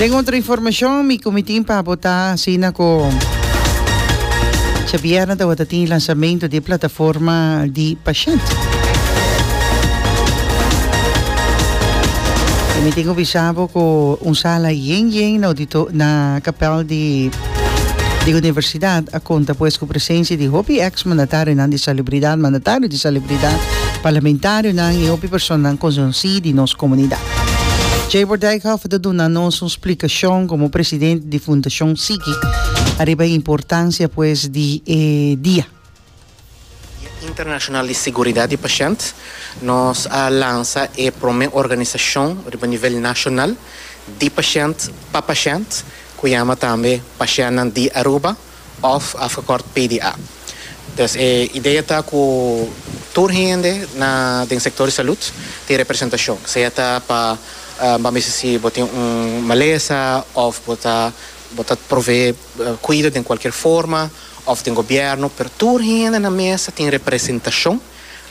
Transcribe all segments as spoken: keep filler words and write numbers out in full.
Den otro informacion, mi cu mi tin pa bo ta asina cu djabièrnè tabata tin lansamento di plataforma di pashent. I mi tin ku bisa bo ku un sala yen yen na audito na kapèl di di universidat a konta pues ku presensia di hopi eks mandatarionan di salubridat, mandatario di salubridat, parlamentarionan i hopi personanan konosí di nos komunidat. Jabor Dijkhoff ta duna nos un splikashon komo presidente di Fundashon Sigui ariba e importansia pues di e dia. Dia Internashonal di Siguridat di Pashènt, nos a lansa e promé organisashon riba nivel nashonal di pashènt pa pashènt ku yama tambe Pashèntnan di Aruba òf afgekort P D A. Dus e idea ta ku tur hende na den sektor di salud tin representashon, sea ta pa ban bisa si bo tin un malesa òf bo ta bo ta provee kuido den kualkier forma òf den gobièrnu, pero tur hende na mesa tin representashon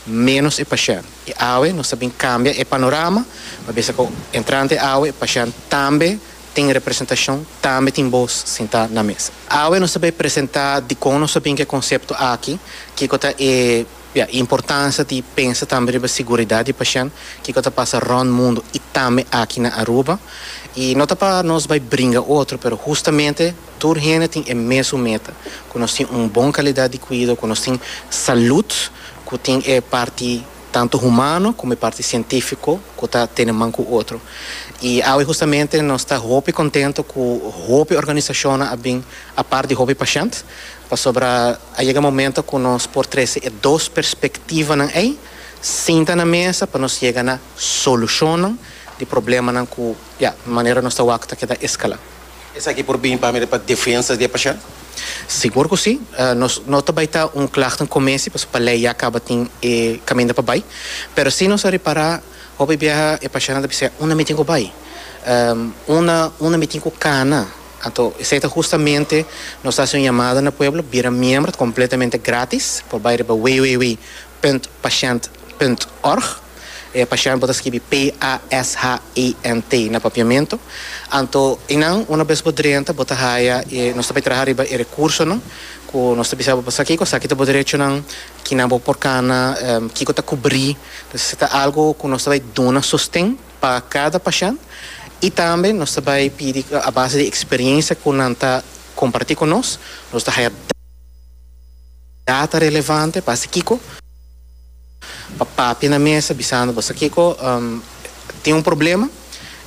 ménos e pashènt. I awe nos ta bin kambia e panorama, pa bisa ku entrante awe e pashènt tambe tin representashon, tambe tin bos sintá na mesa. Awe nos ta bai presentá dikon nos ta bin ku e konsepto aki, kiko ta e, ya, importansia di pensa tambe riba siguridat di pashènt, kiko ta pasa rònt mundu i tambe aki na Aruba. I no ta pa nos bai bringa otro, pero hustamente tur hende tin e mesun meta, ku nos tin un bon kalidat di kuido, ku nos tin salud, ku tin e parti tanto humano komo e parti sientífiko ku ta tene man ku otro. I awe hustamente nos ta hopi kontento ku hopi organisashonnan a bin apart di hopi pashènt, pasobra a yega momento ku nos por trese e dos perspektivanan ei sinta na mesa pa nos yega na solushonnan di problemanan ku, ya, manera nos ta wak ta keda eskalá. Esaki por bin pa pa defensa di e pashènt? Sigur ku si. Nos no ta bai ta un klachtenkommissie, pasobra pa lei ya kaba tin e kaminda pa bai. Pero si nos a ripará hopi biaha e pashèntnan ta bisa, unda mi tin ku bai? Unda unda mi tin ku kana? Anto esei ta hustamente nos ta hasi un yamada na pueblo, bira miembro, ta kompletamente gratis. Por bai riba www punt pashènt punt org. E pashènt bo ta skibi P A S H E N T na papiamentu. Anto einan una bes bo drenta bo ta haya e nos ta bai traha riba e rekursonan ku nos ta bisa bo pasa kiko, esaki ta bo derechonan, kinan bo por kana, kiko ta kubrí. Entonces ta algu ku nos ta bai duna sosten pa kada pashènt i tambe nos ta bai pidi a base di eksperensia ku nan ta kompartí ku nos, nos ta haya data relevante pa hasi kiko. Pa papia na mesa bisando bo sa kiko, tin un problema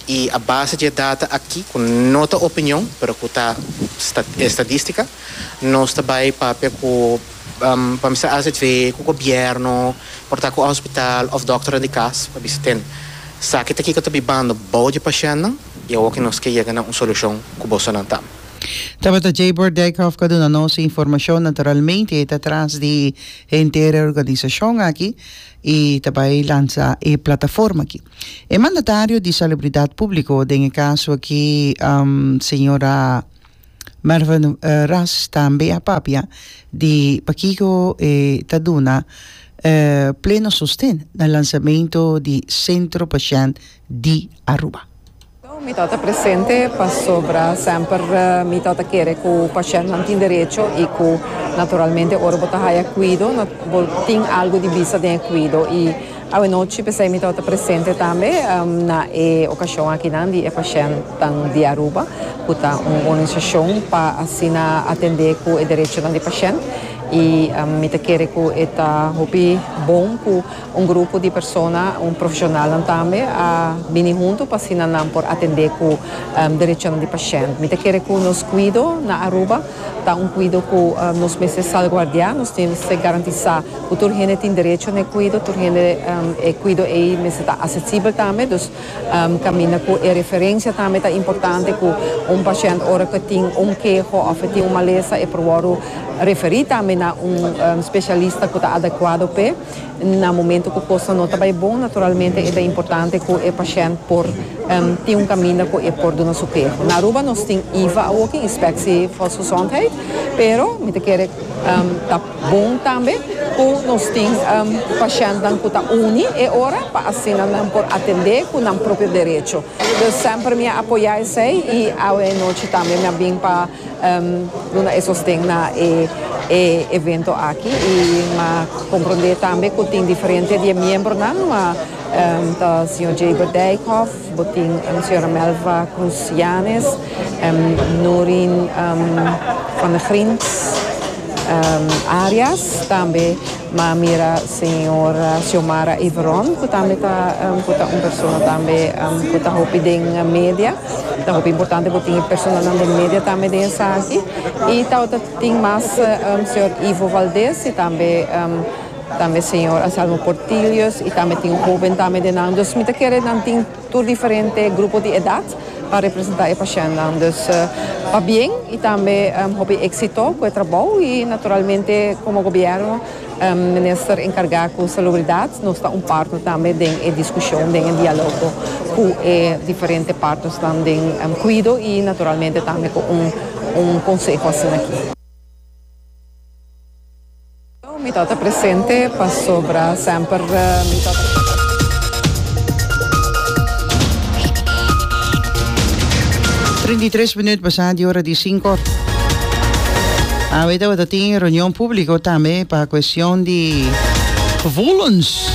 i a base di e data aki ku no ta opinion pero ku ta estadistica nos ta bai papia ku pa bisa A Z V, ku gobierno, por ta ku hospital of dokternan di kas pa bisa ten saki ta kiko ta bibando bou di pashèntnan i awor ke nos ke yega na un solushon ku bosonan ta. Tabata Jabor Dijkhoff ku a duna nos e informashon. Naturalmente e ta tras di henter e organisashon aki i ta bai lansa e plataforma aki. E mandatario di Salubridat Públiko den e kaso aki, señora Mervin Ras tambe a papia di pakiko e ta duna pleno sosten na lansamento di Sentro Pashènt di Aruba. Mi tabata presente pasobra semper mi tabata kere ku pashèntnan tin derecho i ku naturalmente ora bo ta haya kuido bo tin algu di bisa den e kuido i awenochi p'esei mi tabata presente tambe na e okashon akinan di e pashèntnan di Aruba ku ta un organisashon pa asina atendé ku e derechonan di pashènt i mi ta kere ku e ta hopi bon ku un grupo di persona, un profesionalnan tambe a bini hunto pa asina nan por atende cu derechonan di pashent. Mi ta kere cu nos cuido na Aruba ta un cuido cu nos mester salguardia, nos mester garantisa cu tur hende tin derecho na e cuido, tur hende e cuido ey mester ta accesibel tambe, dus caminda cu e referencia tambe ta importante cu un pashent ora cu e tin un keho of e tin un malesa e por wordo referi tambe na un specialista cu ta adecuado p'e. Na momento ku kosnan no ta bai bon, naturalmente e ta importante ku e pashènt por tin un kaminda ku e por duna su keho. Na Aruba nos tin I V A awoki, Inspectie Volksgezondheid, Pero mi ta kere um, ta bon tambe ku nos tin um, pashèntnan ku ta uni e ora pa asina nan por atendé ku nan propio derecho. Dus semper mi a apoyá esei i awe nochi tambe mi a bin pa um, duna e sosten na e, e evento aki i m'a komprondé tambe ku tin diferente di miembronan, ma um, ta señor Jaber Dijkhoff, bo tin um, señora Melva Cruz Yanes, um, Norin um, van der Grint, um, Arias, tambe m'a mira señora Xiomara Iveron, ku tambe ta um, ku ta un persona tambe um, ku ta hopi den media. Ta hopi importante ku tin personanan den media tambe den esaki. I ta tin mas um, señor Ivo Valdez i tambe um, tambe señor Anselmo Portillos i tambe tin un hóben tambe den nan. Dus mi ta kere nan tin tur diferente grupo di edat pa representá e pashèntnan. Dus uh, pabien i tambe um, hopi éksito ku e trabou i naturalmente komo gobièrnu, um, minister enkargá ku salubridat, nos ta un partner tambe den e diskushon, den diálogo ku e diferente partnernan den um, kuido i naturalmente tambe ku un, un konseho asina aki. Mi ta presente pasobra semper mi ta Trinta i tres minüt pasá di ora di sinku. Awe tabata tin reunion públiko tambe pa kuestion di gevoelens.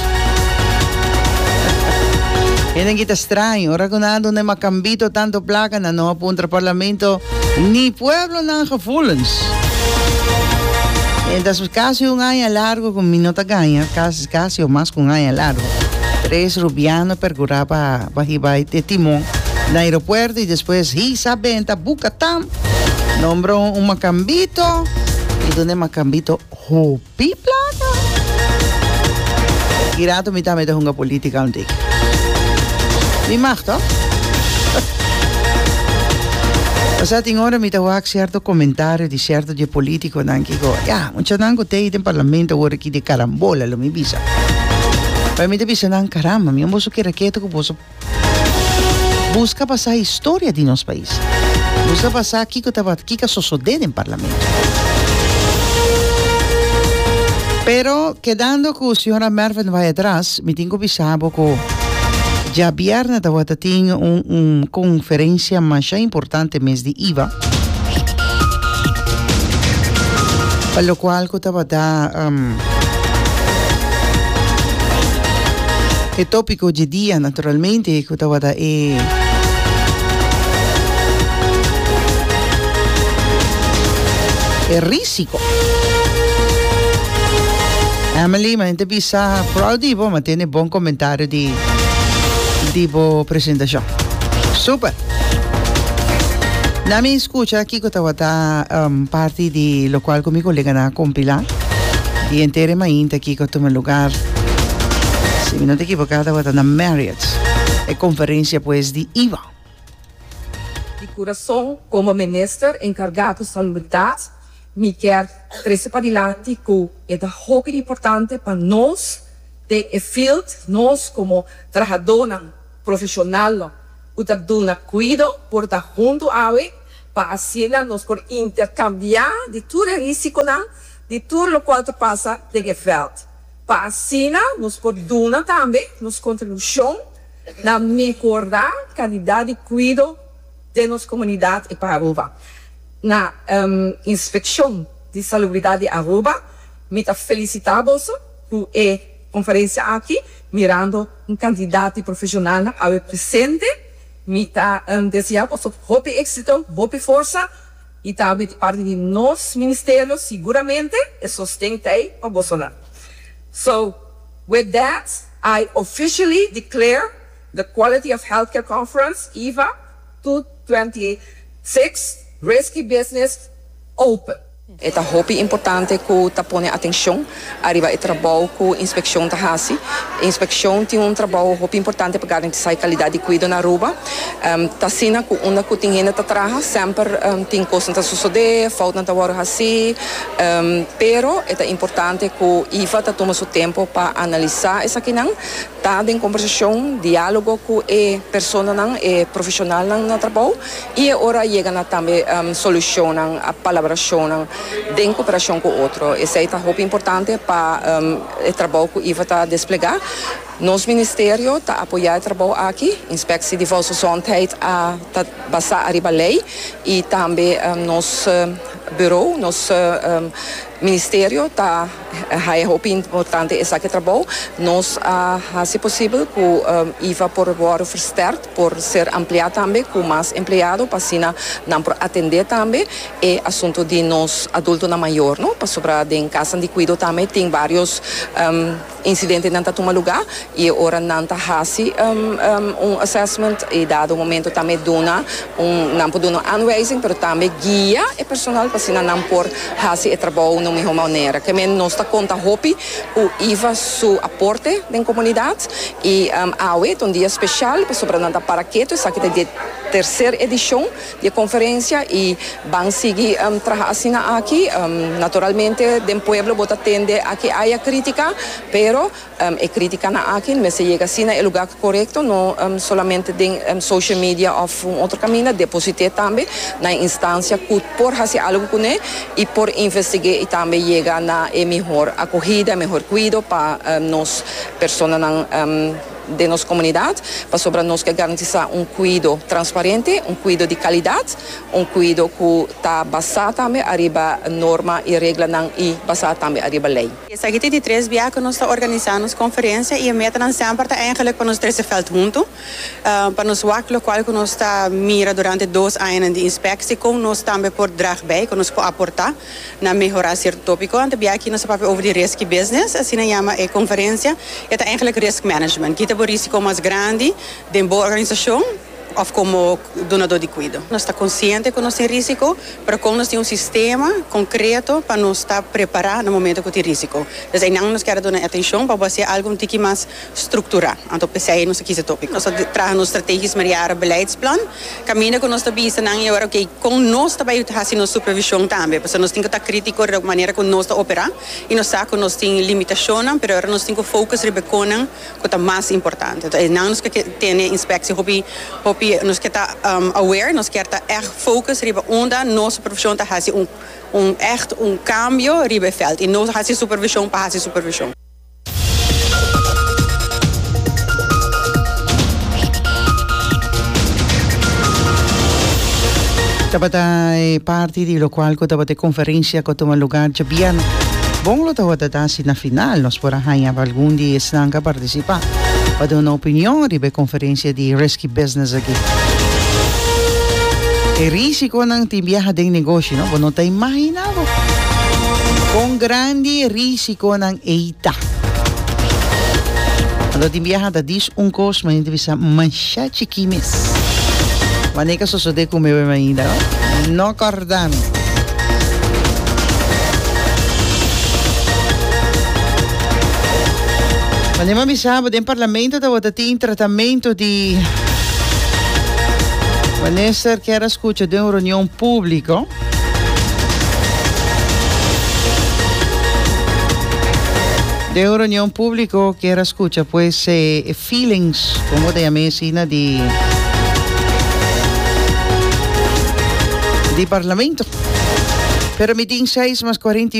Hende ta straño, ora ku nan a duna makambito tantu plaka, nan no a puntra parlamento ni pueblo nan gevoelens. Entonces, kasi un aña largu ku mi no ta gaña, kasi, kasi òf mas ku un aña largu. Tres rubiano perkurá pa pa hiba e timon na aeropuerto i despues hisa benta bukatam nombra un makambito i duna makambito hopi plaka. I rato mi tambe ta hunga polítika un tiki. Mi mag, toch? Osea, tin ora mi ta wak sierto komentario di sierto di polítikonan kiko. Ja, muchanan ku t'ei den parlamento awor aki di karambola lo mi bisa. Pa mi ta bisa nan karamba, mi boso kere keto ku boso buska pa sa historia di nos pais. Buska pa sa kiko tabata kiko a sosodé den parlamento. Pero kedando ku señora Mervin bai atras, mi tin ku bisa bo ku djabièrnè tabata tin un, un konferensia masha importante mes di I V A. Pa lokual ku tabata um, e tópiko di dia naturalmente ku tabata e e rísiko. Emily, mi ta bisa proud di bo, m'a tende bon komentario di di bo presentashon. Super. Laga mi skucha kiko tabata um, parti di lokual ku mi koleganan a kompilá. Di henter mainta kiko a tuma lugá. Si mi no ta ekivoká, tabata na Marriott. E konferensia pues di I V A. Di kurason, komo minister enkargá ku salubridat, mi ke trese padilanti ku ta hopi importante pa nos den e field, nos komo trahadónan profeshonal, ku ta duna kuido por ta huntu awe, pa asina nos por interkambiá di tur e rísikonan, di tur lokual ta pasa den e veld. Pa asina nos por duna tambe nos kontribushon na mehorá kalidat di kuido di nos komunidat i pa Aruba. Na um, inspekshon di salubridat di Aruba, mi ta felisitá boso ku e konferensia aki, mirando un kantidat di profeshonal awe presente, mi ta um, deseá boso hopi éksito, hopi forsa, i tambe di parti di nos ministerio, siguramente, e sosten t'ei pa boso. So, with that, I officially declare the Quality of Healthcare Conference, I V A twenty twenty-six, Risky Business open. Ta hopi importante ku ta pone atenshon ariba e trabou ku inspekshon ta hasi. Inspekshon tin un trabou hopi importante pa garantisá kalidat di kuido na Aruba. Um, ta asina ku unda ku tin hende ta traha, semper um, tin kos ta sosodé, fout ta wòrdu hasí, um, pero ta importante ku I V A ta tuma su tempu pa analisá esakinan, ta den kombersashon, diálogo ku e personanan, e profeshonalnan na trabou, i ora yega na tambe um, solushon, a palabrashon, den kooperashon ku otro. Esei ta hopi importante pa um, e trabou ku I V A ta desplegá. Nos ministerio ta apoyá e trabou aki, Inspectie di Volksgezondheid a ta basá riba lei i tambe um, nos uh, bureau, nos uh, um, ministerio ta e hopi importante esaki trabou. Nos a hasi posibel ku um, I V A por wòrdu versterkt, por ser ampliá tambe ku mas empleado, pa asina nan por atendé tambe e asuntu di nos adultonan mayó, no? Pasobra den kas di kuido tambe tin vários um, insidentenan ta tuma lugá i ora nan ta hasi um, um, un assessment i dado momento tambe duna un nan por duna aanwijzing, pero tambe guia e personal pa asina nan por hasi e trabou na mihó manera. Ke men nos ta konta hopi ku I V A su aporte den komunidat i um, awe un dia spesial pasobra nan ta para ketu, esaki ta e terser edishon di konferensia i ban sigui um, traha asina aki. Um, naturalmente den pueblo bo ta tende aki aya krítika, pero um, e krítikanan aki mester yega asina na e lugá korekto, no um, solamente den um, social media òf un otro kaminda, depositá tambe na instansia ku por hasi algu kuné i por investigá i tambe yega na e mihó akohida, mihó kuido pa um, nos personanan um, di nos komunidat, pasobra nos ke garantisá un kuido transparente, un kuido di kalidat, un kuido ku ta basá tambe riba norma i reglanan i basá tambe riba lei. Esaki ta di tres biaha ku nos ta organisando konferensia i e meta semper ta eigenlijk pa nos trese veld huntu, uh, pa nos wak lokual ku nos ta mira durante dos aña di inspektie, kon nos tambe por draag bij, kon nos por aportá na mehorá sierto tópiko. Anto biaha aki nos a papia over di risky business, asina yama e konferensia, e ta eigenlijk risk management. Ki ta e risiko mas grandi den bo organisashon òf komo dunadó di kuido. Nos ta konsiente ku nos tin risiko, pero kon nos tin un sistema konkreto pa nos ta prepará na momento ku tin risiko. Anto, ei nos ke duna atenshon pa hasi algu un tiki mas strukturá. Anto, p'esei nos a kies e tópiko. Nos ta traha un strategisch meerjarenbeleidsplan. Kaminda ku nos ta bisa nan i awor, ok, kon nos tambe ta hasi nos supervishon tambe. Pasobra nos tin ku ta krítiko di manera ku nos ta operá i nos sa ku nos tin limitashon, pero awor nos tin ku focus riba kosnan ku ta mas importante. Anto, nos ke tin inspektie hopi hopi nos ke ta um, aware, nos ke ta echt focus riba unda nos supervishon ta hasi un un echt un kambio riba veld i no hasi supervishon pa hasi supervishon. Tabata e parti di lokual ku tabata e konferensia ku a tuma lugá djabièrnè. Bon lo tabata ta si na final nos por a haña algun di esnan ku a partisipá pa duna opinion riba e konferensia di Risky Business aki. E risikonan tin biaha den negoshi, no? Bo no ta imaginá bo kon grandi e risikonan ei ta. Anto tin biaha ta dis un kos, ma hende bisa masha chikí mes. Wanneer ka sosodé ku mi ainda, no? No kòrda mi. Wanneer mi a bisa bo den parlamento tabata tin tratamentu di minister kier a skucha den un reunion públiko. Den un reunion públiko kier a skucha pues e feelings, komo ta yam'é asina, di di parlamento. Pero mi tin seis mas kuarenta